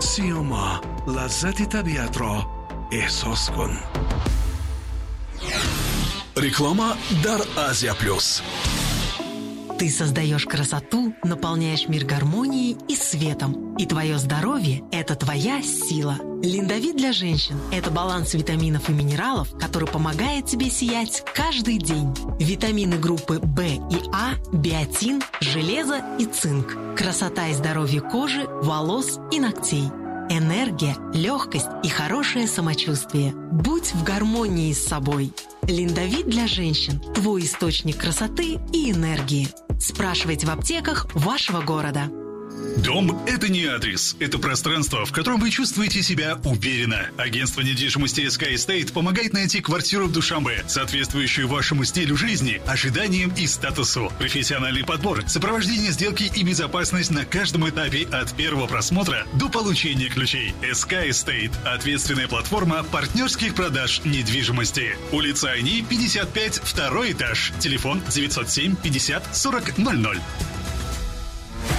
Сиёма, лаззати табиатро эҳсос кун. Реклама дар Азия Плюс. Ты создаешь красоту, наполняешь мир гармонией и светом. И твое здоровье – это твоя сила. Линдовит для женщин – это баланс витаминов и минералов, который помогает тебе сиять каждый день. Витамины группы В и А, биотин, железо и цинк. Красота и здоровье кожи, волос и ногтей. Энергия, легкость и хорошее самочувствие. Будь в гармонии с собой. Линдовит для женщин – твой источник красоты и энергии. Спрашивайте в аптеках вашего города. Дом – это не адрес, это пространство, в котором вы чувствуете себя уверенно. Агентство недвижимости SK Estate помогает найти квартиру в Душанбе, соответствующую вашему стилю жизни, ожиданиям и статусу. Профессиональный подбор, сопровождение сделки и безопасность на каждом этапе от первого просмотра до получения ключей. SK Estate – ответственная платформа партнерских продаж недвижимости. Улица Айни, 55, второй этаж. Телефон 907 50 40 00.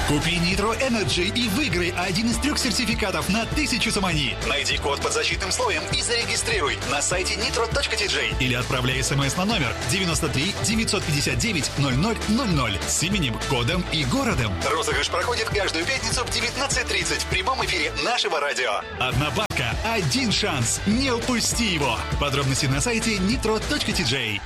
Купи Nitro Energy и выиграй один из трех сертификатов на 1000 сомони. Найди код под защитным слоем и зарегистрируй на сайте nitro.tj или отправляй смс на номер 93 959 0000 с именем, кодом и городом. Розыгрыш проходит каждую пятницу в 19:30 в прямом эфире нашего радио. Одна бабка, один шанс. Не упусти его. Подробности на сайте nitro.tj.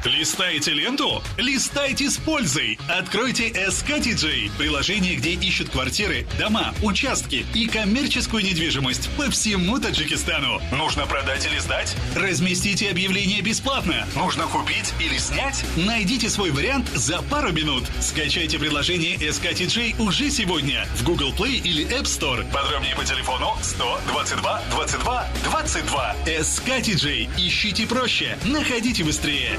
Листаете ленту? Листайте с пользой! Откройте SKTJ – приложение, где ищут квартиры, дома, участки и коммерческую недвижимость по всему Таджикистану. Нужно продать или сдать? Разместите объявление бесплатно. Нужно купить или снять? Найдите свой вариант за пару минут. Скачайте приложение SKTJ уже сегодня в Google Play или App Store. Подробнее по телефону 122 22 22. SKTJ. Ищите проще, находите быстрее.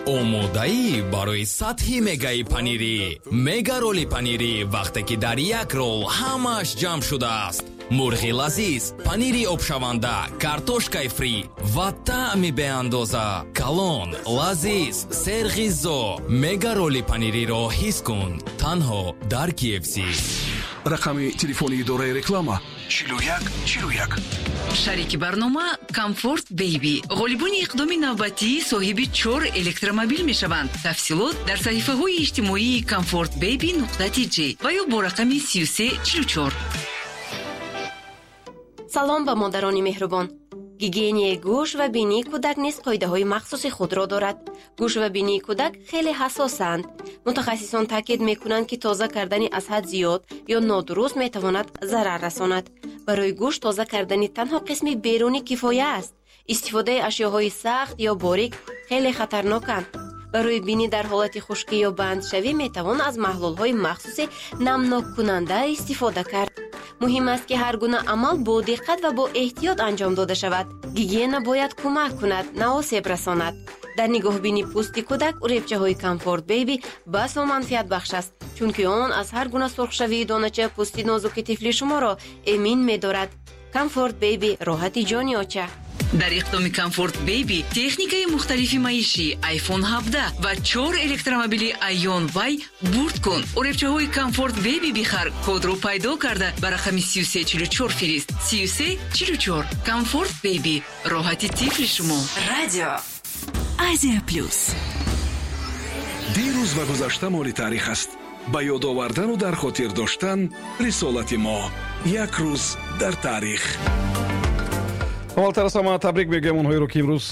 Омодаӣ барои сатҳи мегаи панирӣ, мега роли панирӣ, вақте ки дар як рол ҳамааш ҷамъ шудааст: мурғи лазиз, панири обшаванда, картошкаи фри ва таъми беандоза. Калон, лазиз, серғизо. Мега роли панириро ҳис кун танҳо дар KFC. Рақами телефони идораи реклама: 41 41. Шарики барнома Комфорт Бейби. Ғолибони иқдоми навбатӣ соҳиби чор электромобил мешаванд. Тафсилот дар саҳифаҳои иҷтимоии Комфорт Бейби нуқта тж ва ё бо рақами 3344. Салом ба модарони меҳрубон. Гигиенаи гӯш ва бинии кӯдак низ қоидаҳои махсуси худро дорад. Гӯш ва бинии кӯдак хеле ҳассосанд. Мутахассисон таъкид мекунанд, ки тоза кардани аз ҳад зиёд ё нодуруст метавонад зарар расонад. Барои гӯш тоза кардани танҳо қисми берунӣ кифоя аст. Истифодаи ашёҳои сахт ё борик хеле хатарноканд. Барои бинӣ дар ҳолати хушкӣ ё бандшавӣ метавон аз маҳлулҳои махсуси намноккунанда истифода кард. Муҳим аст, ки ҳар гуна амал бо диққат ва бо эҳтиёт анҷом дода шавад. Гигиена бояд кӯмак кунад, на осеб расонад. Дар нигоҳбинии пӯсти кӯдак уребчаҳои Комфорт Бейби басо манфиатбахш аст, чунки он аз ҳар гуна сурхшавии донача пӯсти нозуки тифли шуморо эмин медорад. Комфорт Бейби, роҳати ҷони оча. Дар иқдоми Комфорт Бейби техникаи мухталифи маишӣ, iPhone 17 ва чор электромобили Aion Y бурд кун. Уребчаҳои Комфорт Бейби бихар, кодро пайдо карда ба рақами 3344 фирист. 3344. Комфорт Бейби, роҳати тифли шумо. Радио Азия Плюс. Дирӯз ва гузашта моли таърих аст. Ба ёд овардану дар хотир доштан рисолати мо. Як рӯз дар таърих. Аввалтар аз ҳама табрик мегӯям онҳоеро, ки имрӯз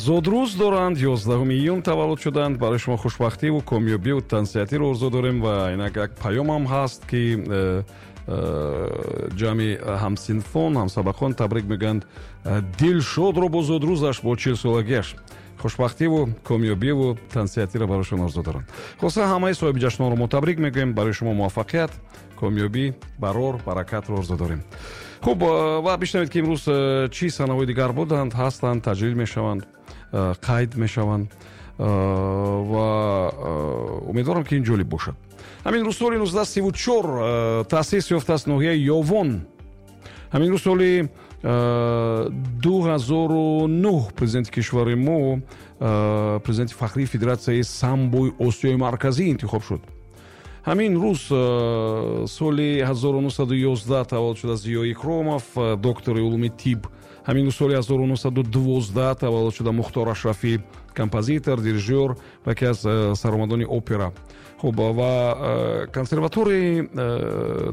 зодрӯз доранд, 11 июн таваллуд шуданд. Барои шумо хушбахтиву комёбиву тансиҳатиро орзу дорем. Ва инак як паёмам ҳаст, ки ҷамъи ҳамсинфон, ҳамсабақон табрик мегӯянд Дилшодро бо зодрӯзаш, бо 40-солагиаш. Хушбахтиву комёбиву тансиҳатиро барояшон орзу доранд. Хулоса, ҳамаи соҳиби ҷашнҳоро мо табрик мегӯем. Барои шумо муваффақият, комёбӣ, барор, баракатро орзу дорем. Хуб, ва бишнавед, ки имрӯз чӣ санаҳои дигар буданд, ҳастанд, таҷлил мешаванд, қайд мешаванд, ва умедворам, ки ин ҷолиб бошад. Ҳамин рӯз соли 1934 таъсис ёфтааст ноҳияи Ёвон. Ҳамин рӯз соли 2009 президенти кишвари мо президенти фахрии Федератсияи самбои Осиёи Марказӣ интихоб шуд. Ҳамин рӯз соли 1911 таваллуд шуда Зиё Икромов, доктори улуми тиб. Ҳамин рӯз соли 1912 таваллуд шуда Мухтор Ашрафӣ, композитор, дирижёр ва яке аз саромадони опера. Хуб, ва консерваторияи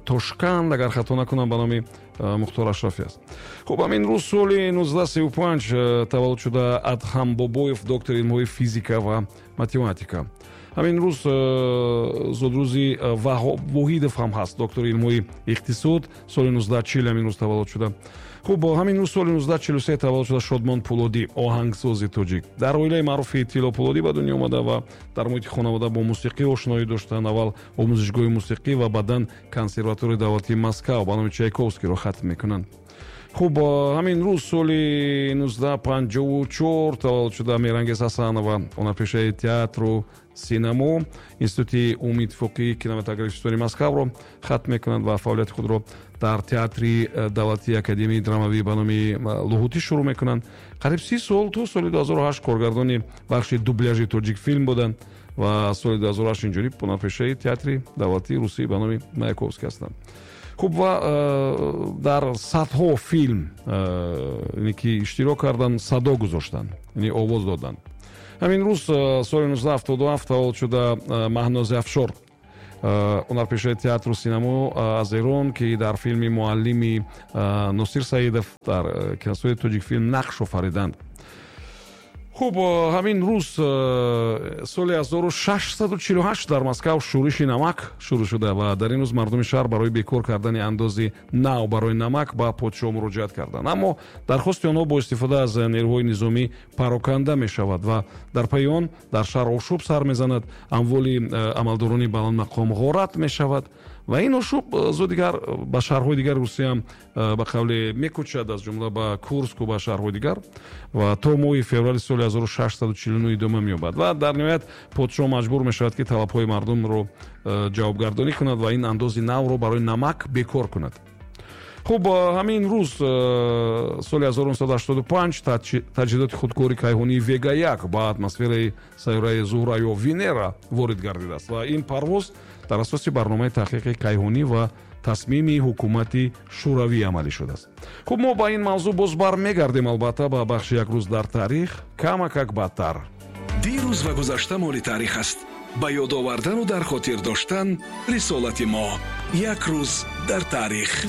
Тошканд, агар хато накунам, ба номи Мухтор Ашрафӣ аст. Хуб, ҳамин рӯз соли 1935 таваллуд шуда Адҳам Бобоев, доктори илмҳои физика ва математика. Ҳамин рӯз зодрӯзи Ваҳоб Воҳидов ҳам ҳаст, доктори илмҳои иқтисод, соли 1940 ҳамин рӯз таваллуд шуда. Хуб, ҳамин рӯз соли 1943 таваллуд шуда Шодмон Пулодӣ, оҳангсози тоҷик. Дар оилаи маъруфи Тилло Пулодӣ ба дунё омада ва дар муҳити хонавода бо мусиқӣ ошноӣ доштанд. Аввал омӯзишгоҳи мусиқӣ ва баъдан консерваторияи давлатии Москав ба номи Чайковскийро хатм мекунанд. Хуб, ҳамин рӯз соли 1954 таваллуд шуда Меҳрангез Ҳасанова, ҳунарпешаи театру синамо, Институти умумииттифоқии кинематографистони Москавро хатм мекунанд ва фаъолияти худро дар Театри давлатии академияи драмавӣ ба номи Лоҳутӣ шурӯъ мекунанд. Қариб 30 сол, то соли 2008, коргардони бахши дубляжи Тоҷикфилм буданд ва соли 2008 инҷониб ҳунарпешаи Театри давлатии русӣ ба номи Маяковский ҳастанд. Хуб, ва дар садҳо филм ки иштирок карданд, садо гузоштанд, яъне овоз доданд. Ҳамин рӯз соли 1977 таваллуд шуда Маҳнози Афшор, ҳунарпешаи театру синамо аз Эрон, ки дар филми «Муаллими» Носир Саидов дар киностудияи Тоҷикфилм нақш офариданд. Хуб, ҳамин рӯз соли 1648 дар Москав шӯриши намак шурӯъ шуда ва дар ин рӯз мардуми шаҳр барои бекор кардани андози нав барои намак ба подшоҳ муроҷиат карданд, аммо дархости онҳо бо истифода аз нерӯҳои низомӣ пароканда мешавад ва дар пайи он дар шаҳр ошӯб сар мезанад, амволи амалдорони баландмақом ғорат мешавад ва ин ошӯб зуд дигар ба шаҳрҳои дигари Русияам ба қавле мекӯчад, аз ҷумла ба Курску, ба шаҳрҳои дигар, ва то моҳи феврали соли 1649 идома меёбад ва дар ниҳоят подшоҳ маҷбур мешавад, ки талабҳои мардумро ҷавобгардонӣ кунад ва ин андози навро барои намак бекор кунад. Хуб, ҳамин рӯз соли 1985 таҷҳизоти худкори кайҳонии Вега 1 ба атмосфераи сайёраи Зуҳра ё Венера ворид гардидааст ва ин парвоз дар асоси барномаи таҳқиқи кайҳонӣ ва тасмими ҳукумати Шӯравӣ амалӣ шудааст. Хуб, мо ба ин мавзӯъ боз бармегардем, албатта, ба бахши «Як рӯз дар таърих» камакак баъдтар. Дирӯз ва гузашта моли таърих аст. Ба ёд овардану дар хотир доштан рисолати мо. Як рӯз дар таърих.